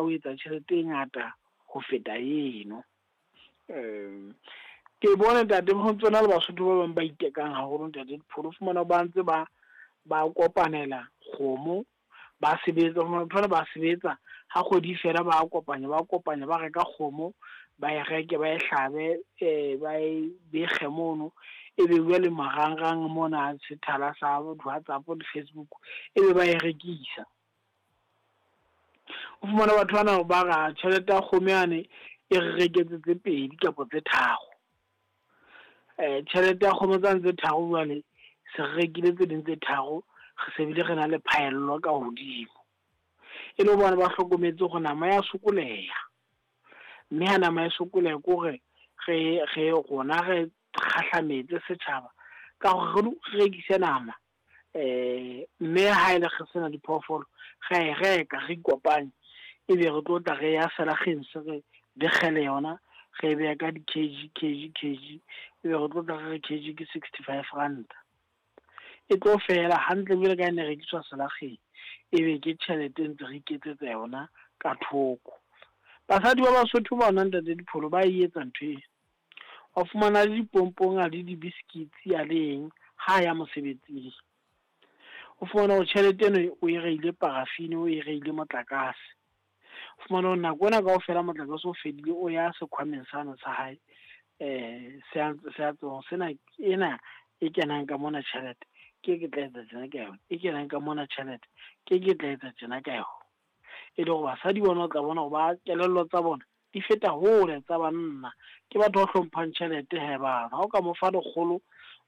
ho etsa tjhelete e ngata ho feta eno. Ke bone ntate ho ntsona le Basotho ba bang ba itekang haholo ntate Dipholo, o fumana ba ntse ba kopanela kgomo, ba sebetsa, thola ba sebetsa ha kgwedi fela, ba kopanya ba reka kgomo, ba e reke, ba e hlabe, ba e bekge mono, e be bua le marangrang mona sethala sa WhatsApp le Facebook, e be ba e rekisa. O fumana batho bana ba ra tjhelete ya kgomo yane e re reketse tse 2 kapa tse 3. Tjhelete ya kgomo tsane tse 3 jwale se re rekile tse ding tse 3, re se bile re na le phaello ka hodimo. E le bona ba hlokometse hore nama ya sokoleha, mme ha nama e sokoleha ke hore re rona re kgahlametse setjhaba ka hore re rekise nama, mme ha ele re sena diphoofolo re e reka, re ikopanye, ebe re tlo tla re ya selakgeng se re bekgele yona, re e beha ka di-kg kg kg, ebe re tlo tla re re kg ke 65 ranta. E tlo fela hantle jwale ka e ne rekiswa selakgeng, ebe ke tjhelete ntse re iketsetsa yona ka thoko. Basadi ba Basotho bona ntate Dipholo ba e etsa ntho ena. Wa fumana le dipompong a le di-biscuits a le eng ha ya mosebetsing. O fumana hore tjhelete eno o e reile paraffin, o e reile motlakase. O fumana hore nako ena kaofela motlakase o fedile, o ya sekhwameng sane sa hae, se a tswa sena ena e kenang ka mona tjhelete, ke tla etsa tjena ka yona, e kenang ka mona tjhelete, ke tla etsa tjena ka yona. E le hore basadi bona o tla bona hore ba kelello tsa bona di feta hole tsa banna. Ke batho ba hlomphang tjhelete he bana. Ha o ka mo fa 100,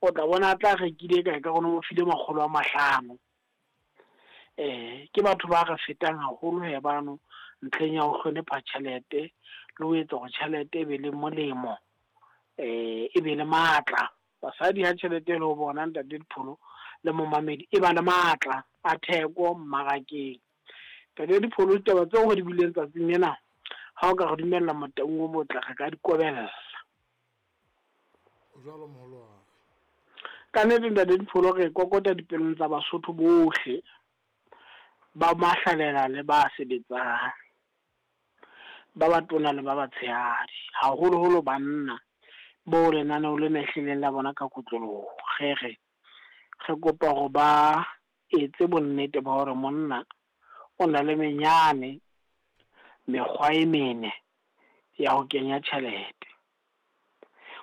o tla bona a tla rekile kae ka rona, o file 500. Ke batho ba re fetang haholo he bano ntlheng ya ho hlonepha tjhelete le ho etsa hore tjhelete e be le molemo, e be le matla. Basadi ha tjhelete e le ho bona ntate Dipholo le momamedi, e ba le matla a theko mmarakeng. Ntate Dipholo, ditaba tseo re di buileng tsatsing lena, ha o ka re dumella Motaung o motle, re ka di kobella. O jwalo moholo wa ka. Ka nnete ntate Dipholo, re kokota dipelong tsa Basotho bohle, ba mahlalela le ba sebetsang, ba batona le ba batshehadi, haholoholo banna bo lenaneo lena ehlileng la bona ka kotloloho. Re re kopa hore ba etse bonnete ba hore monna o na le menyane mekgwa e mene ya ho kenya tjhelete,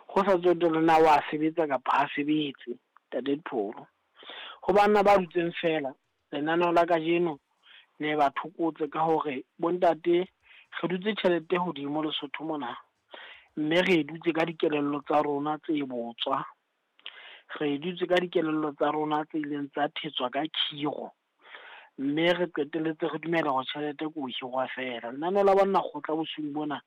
ho sa tsotelle na wa sebetsa kapa ha sebetse. Ntate Dipholo, ho banna ba dutseng fela, lenaneo la kajeno le ba thokotse ka hore bontate re dutse tjhelete hodimo Lesotho mona, mme re dutse ka dikelello tsa rona tse botswa, re dutse ka dikelello tsa rona tse ileng tsa thetswa ka khiro, mme re qetelletse re dumela hore tjhelete ke ho hirwa fela. Lenaneo la banna kgotla bosiung bona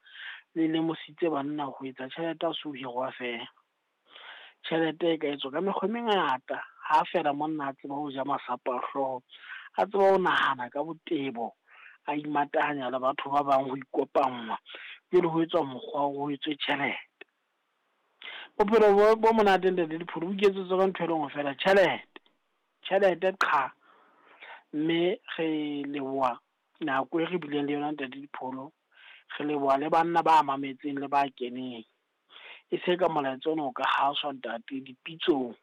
le lemositse banna ho etsa tjhelete ha se ho hirwa fela. Tjhelete e ka etswa ka mekgwa e mengata, ha fela monna a tseba ho ja masapo a hlooho, a tseba ho nahana ka botebo, a imatahanya le batho ba bang ho ikopangwa, jwale ho etswa mokgwa ho etswe tjhelete. Bophelo bo monate ntate Dipholo bo iketsetswa ka ntho e le nngwe fela, tjhelete. Tjhelete qha. Mme re leboha nako e re bileng le yona ntate Dipholo, re leboha le banna ba mametseng le ba keneng. E se ka molaetsa ona o ka haswa ntate dipitsong,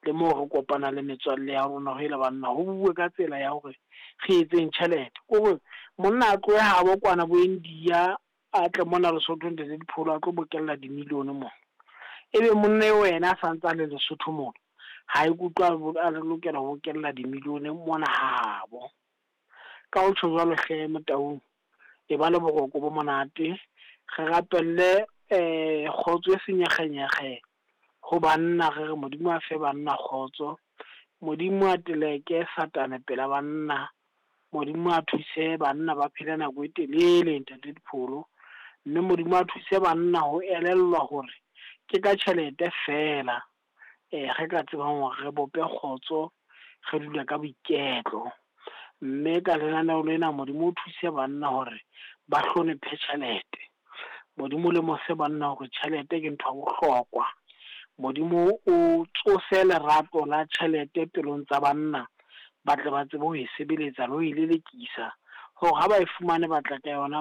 le moo re kopana le metswalle ya rona, ho ile banna ho bue ka tsela ya hore re etseng tjhelete. Kore monna a tlohe habo kwana bo India, a tle mona Lesotho ntate Dipholo, a tlo bokella dimilione mona. Ebe monna eo wena a santse a le Lesotho mona, ha ikutlwa a lokela ho bokella dimilione mona habo. Ka ho tjho jwalo hle Motaung, e ba le boroko bo monate, re rapelle kgotso e senyekgenyekge ho banna, re re Modimo a fe banna kgotso, Modimo a teleke Satane pela banna, Modimo a thuse banna ba phele nako e telele ntate Dipholo, mme Modimo a thuse banna ho elellwa hore ke ka tjhelete fela re ka tsebang hore re bope kgotso, re dule ka boiketlo. Mme ka lenaneo lena Modimo o thuse banna hore ba hlonephe tjhelete. Modimo le mose banna hore tjhelete ke ntho ya bohlokwa. Modimo o tsose lerato la tjhelete pelong tsa banna, ba tle ba tsebe ho e sebeletsa le ho e lelekisa, hore ha ba e fumane ba tla ka yona.